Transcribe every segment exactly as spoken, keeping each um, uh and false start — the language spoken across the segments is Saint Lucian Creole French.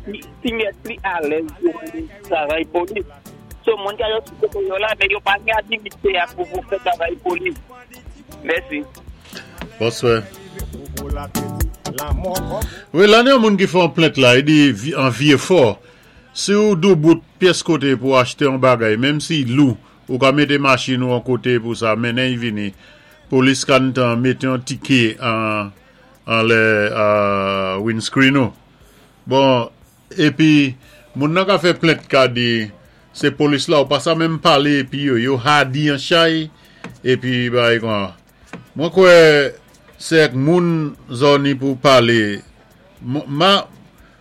Pli pli alèz pou travay polis. So moun ka yo sou yo la, men yo pa gen aktivite a pou pou fè travay polis. Mèsi. Bonswè. Wi, la ni yon moun ki fè yon plent la, i di an Vieux-Fort, si ou doubout pyès koté pou achté yon bagay, menm si lou, ou ka mété machin ou an koté pou sa, mennen y vini, polis kan tan mété yon ticket an, an lè uh, windscreen ou. Bon, épi, moun nan ka fè plent ka di, sé polis la ou pa sa menm palé épi yo, yo hadi an chay, épi bay kwa. Mwen kwè sé ak moun zò ni pou palé. Ma,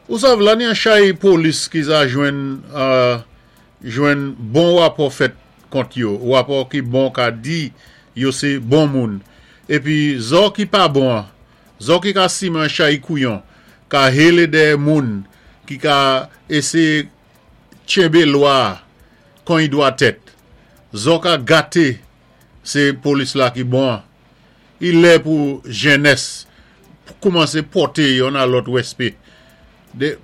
ou sav la ni an chay polis ki sa jwenn, uh, jwenn bon wapò fèt kont yo, wapò ki bon ka di, yo sé bon moun. Épi zò ki pa bon, zò ki ka siman chay kouyon, ka hélé dè moun, ki ka éséyé tchenbé lwa kon y dwa tèt. Zò ka gaté, sé polis la ki bon. I lè pou jènès koumansé pòté youn a lòt wèspè. De,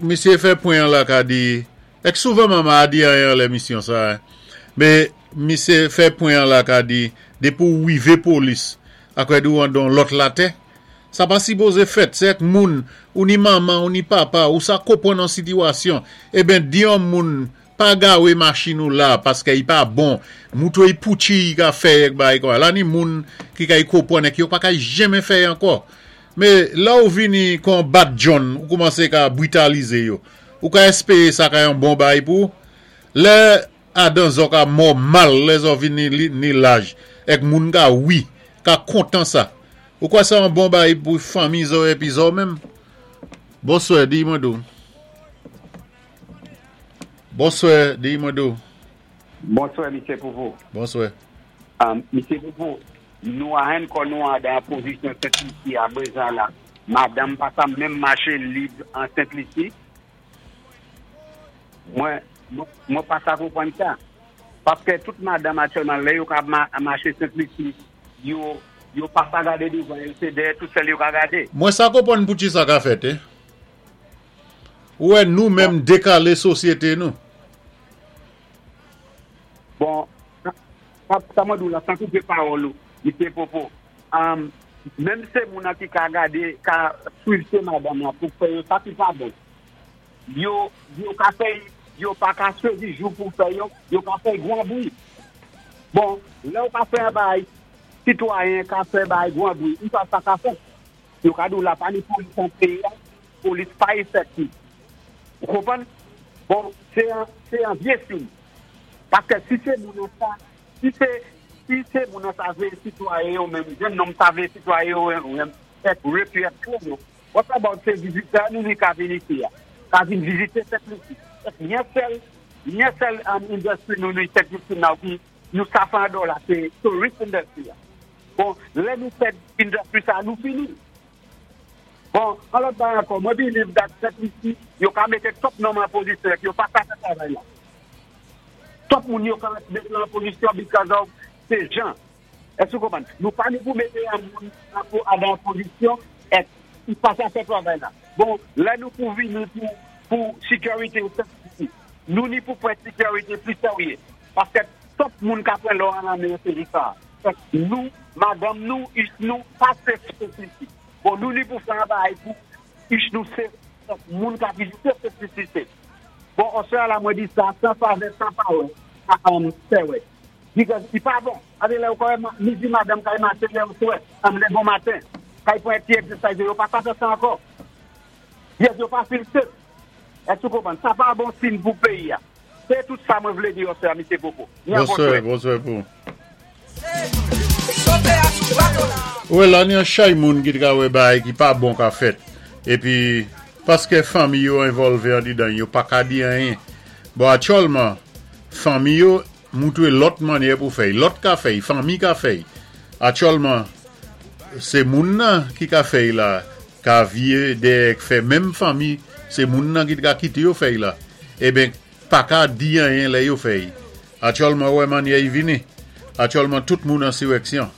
misyé fè pwen la ka di, ek souvan mama a di an l'émission sa, mais misyé fè pwen la ka di, dépi ou wivé polis, akwè di ou an don lòt latè, sa pa sipozé fèt, sé ek moun, ou ni manman, ou ni papa, ou sa konpwann an sitiyasyon, eben di yon moun, pa gawé machin ou la, paské i pa bon, moutou i poutchi i ka fè ek bay kwa, la ni moun ki ka i konpwann ek yo pa ka jenmen fè ankò. Mé la ou vini kon bad John, ou koumansé ka britalizé yo, ou ka espéyé sa ka yon bon bay pou, lè adan zo ka mò mal, lè zo vini li, ni laj, ek moun ka wi, ka kontan sa. Ou kwa sa yon bon bay pou fanmi zo epi zo menm? Bonswè, di mwen dou. Bonswè, di mwen dou. Bonswè, Misye Poupou. Bonswè. Um, Misye Poupou, nou a hen kon nou a dan pozisyon Sent-Lisi a prezan la. Madanm pa sa menm maché lib an Sent-Lisi. Mwen, mwen pa sa konpwann sa. Paské tout madanm aktyèlman lè yo ka ma, maché Sent-Lisi, yo, yo pa sa gadé douvan, yo sé dèyè tout sèl yo ka gadé. Mwen sa konpwann pou ti sa ka fèt, eh? Ou wè nou menm dékalé sosyété nou. Bon, sa, sa mwen dou la, san koupé pawòl ou, Misye Popo. Um, menm sé moun an ki ka gadé, ka suiv sé madanm la pou fè yo sa ki pa bon. Yo, yo ka fè, yo pa ka chwézi jou pou fè yo, yo ka fè gwan bwi. Bon, lè ou ka fè an bay, sitwayen ka fè bay gwan bwi, ou sa sa ka fè. Yo ka dou la pa ni polis an peyi, polis pa efektif. Ou konpwann? Bon, sé an, sé an vyé siy. Paské si sé moun an sa, si sé, si sé moun an sa vlé sitwayen yo menm, jenn nonm sa vlé sitwayen yo menm, ek repu ek kwen yo. What about sé vizitè nou ni ka vin isi ya? Ka vin vizité Sent-Lisi. Ek yon sèl, yon sèl um, industry nou ni Sent-Lisi nou ki nou sa fè an dola, sé tourist industry ya. Bon, lè nou fè industry sa, nou fini. Bon, an lòt bagay ankò, mwen believe that Sent-Lisi, yo ka mété twòp nonm an pozisyon, yo pa ka fè travay la. Twòp moun yo ka mété an pozisyon because of sé jan. Èske ou konpwann? Nou pa ni pou mété an moun an pou an pozisyon, ek i pa sa fè travay la. Bon, lè nou pou vini pou, pou security ou Sent-Lisi, nou ni pou fè security pli sèryé. Paské twòp moun ka pran lò an an se sa. Ek nou, madanm nou, ich nou, pa safe Sent-Lisi. Bon, nou ni pou fè an bagay pou ich nou safe, moun ka vizité Sent-Lisi safe. Bon, osè la mwen di sa, san favè, san pawè, a um, fè wè. Because i pa bon. Ave lè ou kòwè, midi madanm kay maché lè ou souwè, am lè bon maten, kay pou ti exercise, yo pa sa fè sa ankò. Yes, yo pa feel safe. Èske ou konpwann? Sa pa bon siy pou peyi ya. Sé tout sa mwen vlé di osè a Misye Popo. Bonswè, bonswè pou. Ouè, la ni an chay moun ki te ka wè bay ki pa bon ka fèt. Épi, paské fanmi yo envolvé an didan, yo pa ka di anyen. Bon, aktyèlman, fanmi yo moutwé lòt mannyè pou fèy. Lòt ka fèy, fanmi ka fèy. Aktyèlman, sé moun nan ki ka fèy la, ka vyé dè fè menm fanmi, sé moun nan ki ka kité yo fèy la. Eben, pa ka di anyen lè yo fèy. Aktyèlman, wè mannyè y vini. Aktyèlman, tout moun an siwèksyon.